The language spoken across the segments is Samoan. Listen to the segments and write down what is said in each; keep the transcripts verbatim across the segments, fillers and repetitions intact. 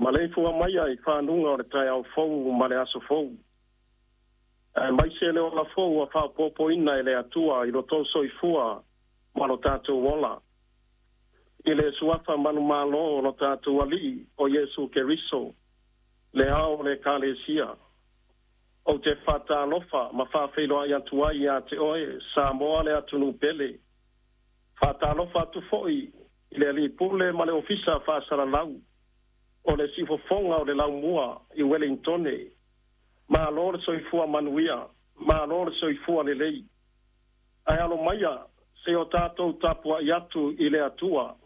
Maleifua mai ai fanuga o le taeao fou ma le aso fou. Aemaise le ola fou ua faaopoopoina e le Atua i lo tou soifua ma lo tatou ola. I le suafa manumalo o lo tatou Alii o Iesu Keriso, le ao o le Ekalesia. Ou te faatalofa ma faafeiloai atu ai ia te oe, Samoa le atunuu pele. Faatalofa atu foi i le Alii Pule ma le Ofisa Faasalalau o le siufofoga o le Laumua i Ueligitone. Malo le soifua manuia, malo le soifua lelei. Ae alo maia se i o tatou tapuai atu i le Atua.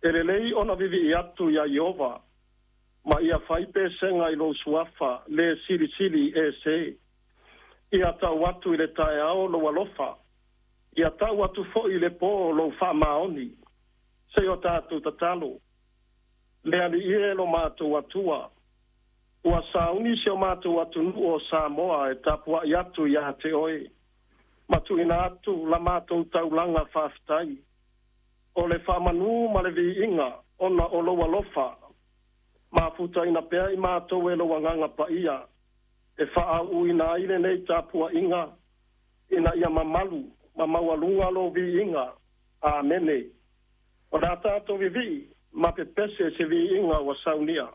E lelei ona vivii atu iā Ieova, ma ia fai pesega i lou suafa le Silisili Ese. Ia tau atu i le taeao lou alofa, ia tau atu foi i le pō lou faamaoni. Se i o tatou tatalo. Le Alii e lo matou Atua, ua sauni si o matou atunuu o Samoa e tapuai atu iā te oe, ma tuuina atu la matou taulaga faafetai, o le faamanu ma le viiga ona o lou alofa, mafutaina pea i matou e lou Agaga Paia, e faaauuina ai lenei tapuaiga, ina ia mamalu ma maualuga lou viiga. Amene. O le a tatou vivii ma pepese se viiga ua saunia.